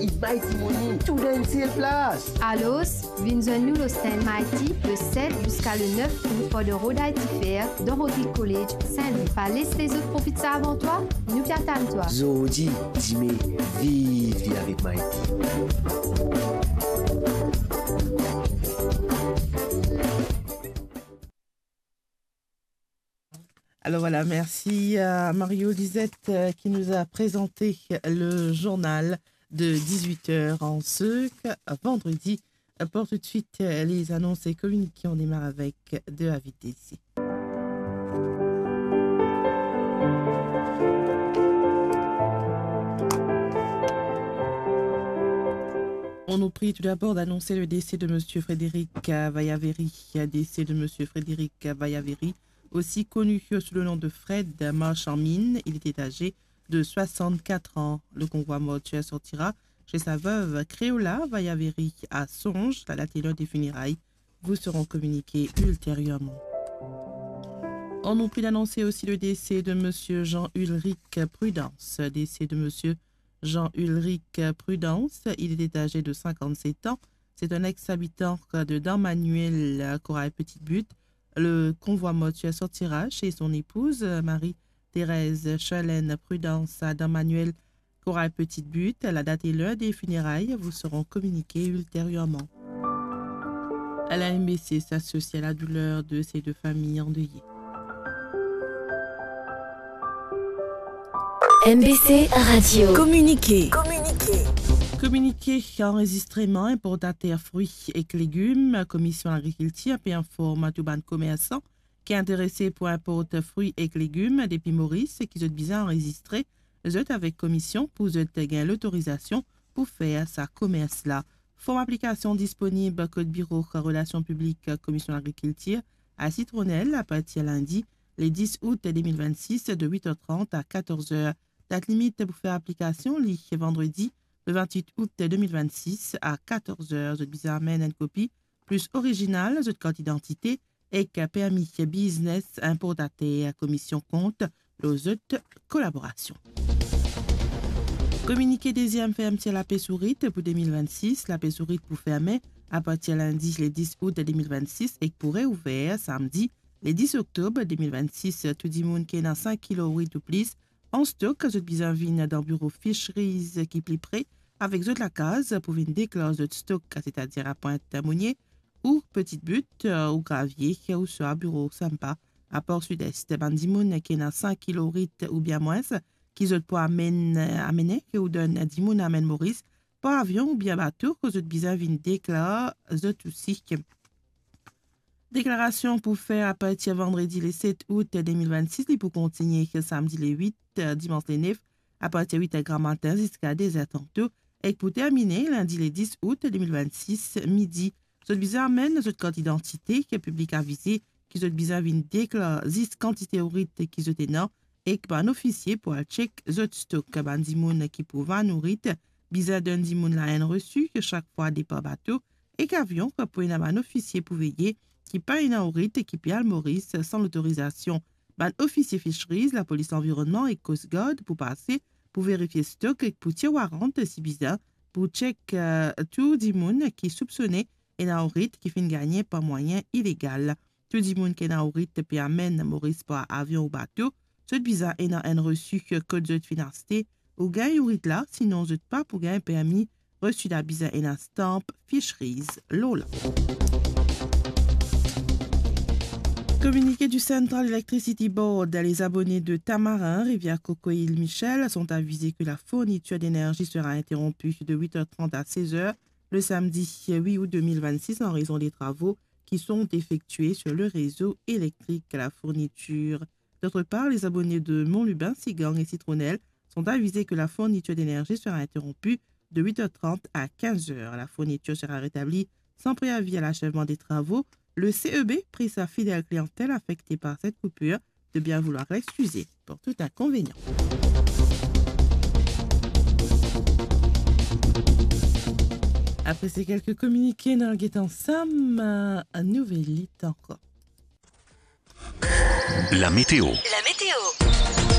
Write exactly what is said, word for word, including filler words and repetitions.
It's Mighty Money, tou dan enn sel plas. Alor, vinn zwenn nou lor stand Mighty le set ziska le nef out for the Road I T Fair dan Rodrigue College, Saint-Louis. Pa les lezot profit sa avan twa, nou pe atann twa. Zordi, dime, viv, viv avek Mighty. Alors voilà, merci à Mario Lisette, euh, qui nous a présenté le journal de dix-huit heures en ce vendredi. Pour tout de suite, euh, les annonces et communiqués, on démarre avec de la vitesse. On nous prie tout d'abord d'annoncer le décès de monsieur Frédéric, euh, Vayaveri, décès de monsieur Frédéric Vayaveri, aussi connu sous le nom de Fred, marchand mine. Il était âgé de soixante-quatre ans. Le convoi mortuaire sortira chez sa veuve Créola Vayaveri à Songe. La date et l'heure des funérailles vous seront communiquées ultérieurement. On nous prie d'annoncer aussi le décès de monsieur Jean-Ulrich Prudence. Décès de monsieur Jean-Ulrich Prudence. Il était âgé de cinquante-sept ans. C'est un ex-habitant de Dan Manuel, euh, Corail Petite Butte. Le convoi mortuaire sortira chez son épouse, euh, Marie-Thérèse Charlène Prudence, à Dan Manuel, Corail Petite Butte. La date et l'heure des funérailles vous seront communiquées ultérieurement. La M B C s'associe à la douleur de ces deux familles endeuillées. M B C Radio. Communiqué. Communiqué. Communiqué anrezistreman inportater frwi ek legim. Komision Lagrikiltir pe inform tou bann komersan ki interese pou inport frwi ek legim depi Moris ki zot bizin anrezistre zot avek komision pou zot gagn lotorizasion pou fer sa komers la. Form aplikasion disponib kot biro relasion piblik Komision Lagrikiltir a Sitronel apartir lindi, le dis out de mil vennsis, de wit er trant a katorz er. Dat limit pou fer aplikasion, li vandredi, le vennwit out de mil vennsis a katorz er. Zot bizin amenn enn kopi plis orizinal zot kart idantite ek permi biznes inportater. Komision kont lor zot kolaborasion. Kominike deziem fermtir Lapes Ourit pou de mil vennsis. Lapes Ourit pou ferme apartir lindi, le dis out de mil vennsis, ek pou reouver samdi, le dis oktob de mil vennsis. Tou dimoun ki ena sink kilo ourit ou plis an stok, zot bizin vinn dan biro Fisheries ki pli pre avek zot lakaz pou vinn deklar zot stok, setadir a Pwint Monie ou Petite Butte, euh, ou Gravie, ouswa biro SAMPA a Port Sud-Est. Bann dimoun ki ena sink kilo ourit oubien mwins ki zot pou amenn, amene, ki ou donn dimoun amenn Moris par avion oubien bato, zot bizin vinn deklar zot osi. Deklarasion pou fer apartir vandredi le set out de mil vennsis, li pou kontinie samdi le wit, dimans le nef, apartir wit er gramatin ziska de zer tanto, ek pou termine lindi le dis out de mil vennsis, midi. Zot bizin amenn zot kart idantite, ki piblik avize ki zot bizin vinn deklar zis kantite ourit ki zot ena, ek bann ofisie pou al tchek zot stok. Bann dimoun ki pou vann ourit bizin donn dimoun la enn resi sak fwa depar bato ek avion, pou ena bann ofisie pou veye ki pa ena ourit ki pe al Moris san lotorizasion. Bann ofisie Fisheries, Lapolis Lanvironnman ek Coast Guard pou pase pou verifie stok ek pou tir warant si bizin, pou tchek, eh, tou dimoun ki soupsone ena ourit ki finn gagne par mwayin ilegal. Tou dimoun ki ena ourit pe amenn Moris par avion ou bato, zot bizin ena enn resi kot zot finn aste ou gagn ourit la, sinon zot pa pou gagn permi. Resi la bizin ena stamp Fisheries lor la. Communiqué du Central Electricity Board, les abonnés de Tamarin, Rivière-Coco et Île Michel sont avisés que la fourniture d'énergie sera interrompue de huit heures trente à seize heures le samedi huit août deux mille vingt-six en raison des travaux qui sont effectués sur le réseau électrique. La fourniture. D'autre part, les abonnés de Mont-Lubin, Sigang et Citronelle sont avisés que la fourniture d'énergie sera interrompue de huit heures trente à quinze heures. La fourniture sera rétablie sans préavis à l'achèvement des travaux. Le C E B prie sa fidèle clientèle affectée par cette coupure de bien vouloir l'excuser pour tout inconvénient. Après ces quelques communiqués, nou al get ansam, euh, nouvel lit ankor. La météo. La météo.